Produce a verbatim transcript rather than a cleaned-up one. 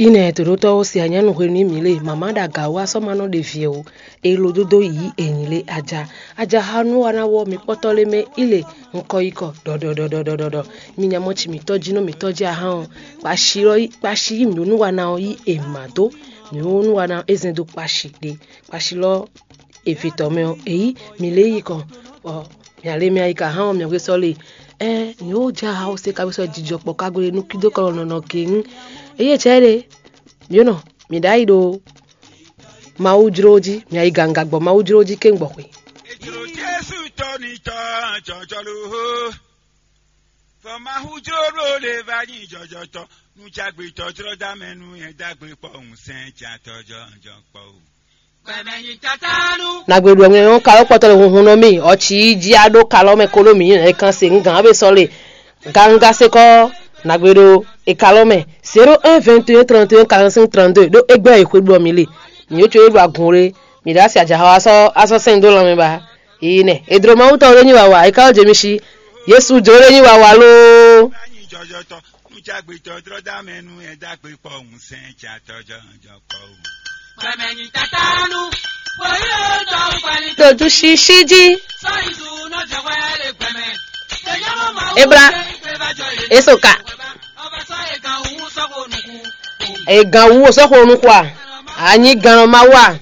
Ine toɖotɔwo se anyanu hwenu mǐ le mama ɖo aga wá sɔ́ ma nɔ ɖe vǐ o. E lo dódó yǐ enyǐ lé aja. Aja ha nú wa ná wɔ mǐ kpɔ́tɔ́ lé mɛ í le ŋkɔ yi kɔ ɖɔɖɔɖɔɖɔɖɔ. Mi nya mɔ ci mǐtɔ́ jí nɔ mǐtɔ́ jí ahan ɔ́, kpashi lɔ kpashi yí mǐ nú wa ná ɔ́ yí e mǎ dó. Mǐ nú wa ná é zɛn dó kpashi ɖe. Kpashi lɔ evetɔ́ mɛ ɔ́, èyí mǐ lé yi kɔn bɔ mǐ ale mɛ ayika hán ɔ́ mǐ hwesɔ le. Ɛɛ mǐ ó jɛ aha ɔ́ se ka hwesɔ jijɔ kpɔ ka gbe nú kídó kɔ nɔnɔ gěŋ. Eye cɛ ɖe mǐ nɔ mǐ ɖ'ayǐ ɖo Mawu jló jí, mǐ ayi ganga gbɔ Mawu jló jí kéŋ gbɔ xwe. Ètò Jésù tọ́ ní tọ́ jọjọ ló hó. Fɔ Mawu jló ló lè va nyí jɔjɔtɔ. Nú jágbe tɔjlɔ́ dá mɛ nú yẹn dágbe kpɔ́ òun sɛn jà tɔjɔ jɔ kpɔ́ o. Gbɛmɛ nyi tatanu. Nagbe ɖu ɔmɛ ɔ́ kalɔ kpɔtɔ le hunhun nɔ mì ɔtsi yi jí aɖó kalɔ mɛ kolo mǐ ɛ kan se ŋgǎn be sɔ le ganga sekɔ. Nagbe ɖo e kalɔ mɛ zéro un vingt et un trente et un quarante-cinq trente-deux ɖó egbé e xwe ɖu ɔmì le. Mǐ yó tso e ɖu agun le. Mǐ ɖo asi ajaxɔ asɔ asɔ sɛn dó lanmɛ ba. Yi nɛ e dro Mawu tɔn ɖé nyi wawa e ka wɔ jemi si. Yesu jlo ɖé nyi wawa loo. Nú jágbe tɔjlɔ́ dá mɛ nú ɛ dágbe kpɔ́ òun sɛn jà tɔjɔ jɔ kpɔ́ o. Gbɛmɛ nyi tatanu. Wòye tɔn gbali. Dojú ṣíṣí jí. Sɔyizu nɔ jɛ wɛ le gbɛmɛ. Ebla. Esoka. Ọba sọ egan wu sọgbó nukun. Egan wu sɔxo nukua. Anyi gan ma wa.